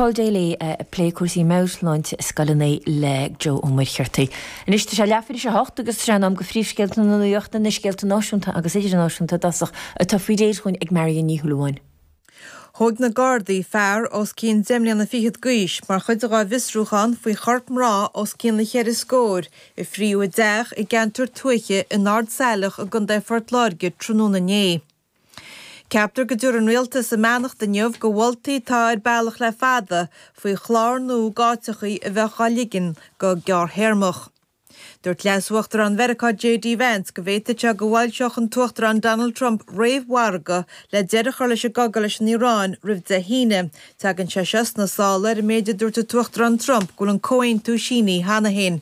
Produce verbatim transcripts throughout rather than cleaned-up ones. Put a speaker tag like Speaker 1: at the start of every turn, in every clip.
Speaker 1: Paul Daly ag plé cúrsaí meabhairshláinte i scoileanna le Joe Ó Muircheartaigh. Anois tá sé leathuair tar éis a hocht agus tá sé in am do phríomhscéalta na nuachta na scéalta náisiúnta agus idirnáisiúnta i dtosach atá faoi réir chugainn ag Marion Ní Shúilleabháin.
Speaker 2: Thóg na Gardaí fear os cionn deich mbliana fichead d'aois mar chuid dá bhfiosrúchán faoi chorp mná os cionn na cheithre scór a fríodh i dteach i gceantar tuaithe in Ard Saileach i gContae Phort Láirge tráthnóna inné. Ceaptar go dtabharfaidh an rialtas a mbeannacht inniu do mholtaí atá ar bealach le fada faoi chlár nua d'áiteachaí a bheadh á ligean go gearrthéarmach. Dúirt Leas-Uachtarán Mheiriceá J.D. Vance go bhféadfadh sé go bhfoilseodh an tUachtarán Donald Trump réamh-mhargadh le deireadh a chur leis an gcogadh leis an Iaráin roimh Dé hAoine. Tagann sé seo sna sála ar an méid a dúirt an tUachtarán Trump go bhfuil an comhaontú sínithe cheana féin.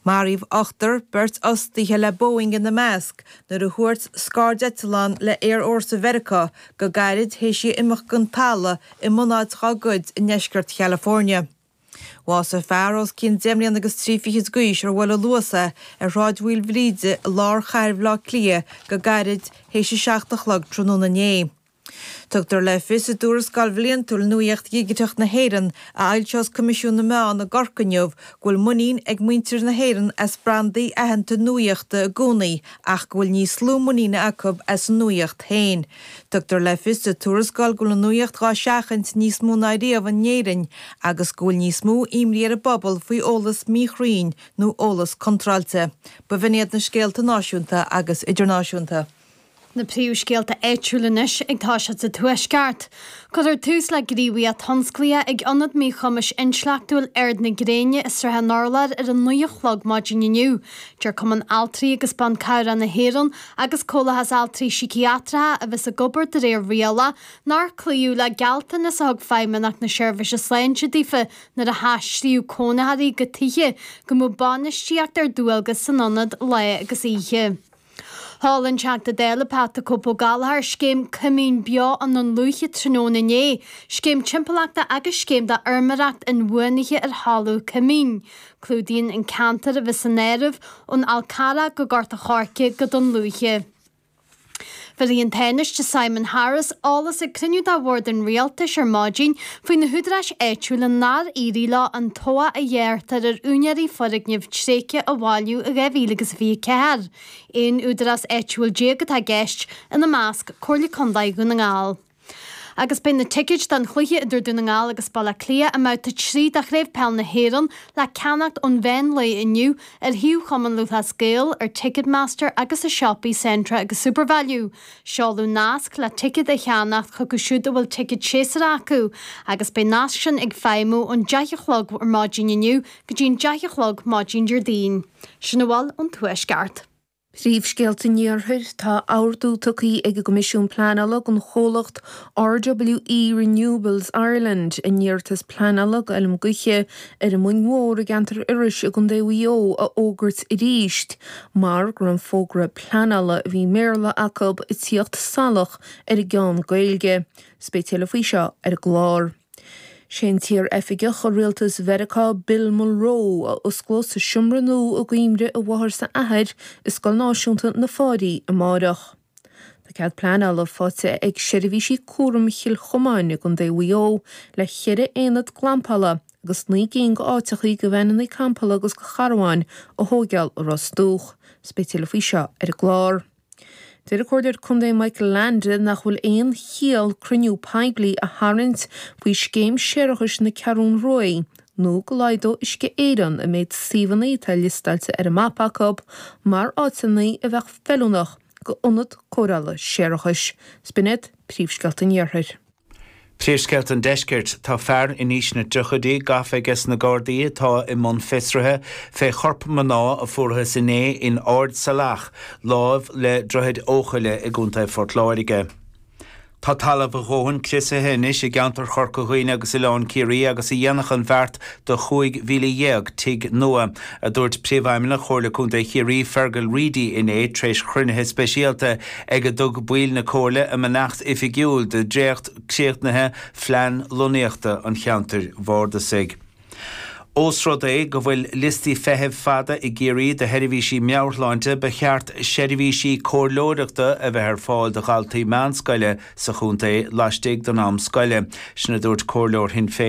Speaker 2: Maraíodh ochtar beirt fhostaithe le Boeing ina measc nuair a thuairt scairdeitleán le Aerfhórsa Mheiriceá go gairid théis í imeacht den talamh i mbunáit dá gcuid i ndeisceart California. Bhásaigh fear os cionn deich mbliana agus trí fichid d'aois ar bhuail a luas é ar Shráid Mhaoilbhríde i lár chathair Bhaile Átha Cliath go gairid théis a seacht a chlog tráthnóna inné. Tugtar le fios i dtuarascáil bhliantúil Nuaíocht Dhigiteach na hÉireann a fhoilseos Coimisiún na Meán i gCorcaigh inniu go bhfuil muinín ag muintir na hÉireann as brandaí aitheanta nuaíochta i gcónaí ach go bhfuil níos lú muiníne acu as an nuaíocht féin. Tugtar le fios sa tuarascáil go bhfuil an nuaíocht dhá seachaint níos mó ná riamh in Éirinn agus go bhfuil níos mó imní ar an bpobal faoi eolas míchruinn nó eolas contráilte. B'in iad na scéalta náisiúnta agus idirnáisiúnta.
Speaker 3: Na príomhscéalta áitiúla anois ag toiseacht sa Tuaisceart. Cuirfear tús le gníomhaíocht thionsclaíoch ag Ionad Míchumais Intleachtúil Ard na Gréine i Srath an Urláir ar a naoi a chlog maidin inniu. Deir Cumann Altraí agus Ban Cabhrach na hÉireann agus Comhlachas Altraí Síciatracha a bheas ag obair de réir riail nár cloíodh le gealltanas a thug Feidhmeannacht na Seirbhíse Sláinte daofa nuair a haistríodh cónaitheoirí go tithe go mbeadh bainistíocht ar dualgas san ionad lá agus oíche. Sheol an Teachta Dála Pat the Cope Ó Gallchóir scéim Coimín Beo i nDún Lúiche tráthnóna inné, scéim timpeallachta agus scéim d'fheirmeoireacht inbhuanaithe ar thalamh coimín. Clúdaíonn an ceantar a bheas san áireamh ón Fhál Carrach go Gort an Choirce go Dún Lúiche. Bhí an Tánaiste Simon Harris eolas ag cruinniú de bhord an rialtais ar maidin faoi na húdaráis áitiúla nár éirigh leo an tobhach a ghearrtar ar úinéirí foirgneamh tréigthe a bhailiú i dhá mhíle agus fiche ceathair. Aon údarás áitiúil déag atá i gceist ina measc Comhairle Contae Dhún na nGall. Agus beidh na ticéid don chluiche idir Dún na nGall agus Baile Átha Cliath i mbabhta trí de Chraobh Peil na hÉireann le ceannacht ón mheán lae inniu ar shuíomh Chumann Lúthchleas Gael ar Ticketmaster agus i siopaí Centra agus Supervalu. Seoladh nasc le ticéad a cheannacht chucu siúd a bhfuil ticéad séasúrach acu, agus beidh nasc sin ag feidhmiú ón deich a chlog ar maidin inniu go dtí an deich a chlog maidin Déardaoin. Sin a bhfuil ón Tuaisceart.
Speaker 4: Príomhscéalta an Iarthair tá ordú tugtha ag an gCoimisiún Pleanála don chomhlacht RWE Renewables Ireland a n-iarratas pleanála d'fheirm gaoithe ar an Mhoing Mhór i gceantar Iorrais i gContae Mhaigh Eo a fhógairt arís, mar go raibh an fógra pleanála a bhí i mBéarla acu ag tíocht salach ar an gceann Gaeilge. 'S beidh tuilleadh faoi seo ar an gclár. Sé an t-iar-oifigeach i rialtas Mheiriceá Bill Mulroe a osclós an seomra nua i gcuimhne a mháthar 's a athair i Scoil Náisiúnta na Fáirí amárach. Tá cead pleanála faighte ag seirbhísí cúraim Chill Chomáin i gContae Mhaigh Eo le ceithre aonad glampála agus naoi gcinn d'áiteachaí do veaineanna campála agus do charbháin a thóigeáil i Ros Dumhach. 'S beidh tuilleadh faoi seo ar an gclár. Deir an Comhairleoir Contae Michael Leainde nach bhfuil aon chiall cruinniú poiblí a tharraingt faoi scéim séarachais na Ceathrún Ruaidh nó go laghdódh Uisce Éireann an méid suíomhanna atá liostáilte ar an mapa acu mar áiteanna a bheadh feiliúnach d'ionad cóireála séarachais. 'S b'in iad príomhscéalta an Iarthair.
Speaker 5: Príomhscéalta an Deiscirt, Tá fear in aois na dtríochaidí gafa aige na Gardaí atá i mbun fiosraithe fé chorp mná a fuarthas inné in Ard Salach, láimh le Droichead Eochaille i gContae Phort Láirge. Tá talamh a dhóthain criosaithe anois i gceantar Chorca Dhuibhne agus Oileán Ciarraí agus a dhéanfadh an bheart do chúig mhíle dhéag tigh nua, a dúirt Príomhfheidhmeannach Chomhairle Contae Chiarraí Fergal Reidy inné tar éis chruinnithe speisialta ag a dtug baill na Comhairle a mbeannacht oifigiúil do dhréacht críochnaithe phlean lonnaíochta an cheantair bhardasaigh. Ós rud é go bhfuil liostaí feithimh fada i gCiarraí do sheirbhísí meabhairshláinte, ba cheart seirbhísí comhairleoireachta a bheith ar fáil do dhaltaí meánscoile sa chontae laistigh den am scoile. Sin a dúirt comhairleoir Shinn Féin.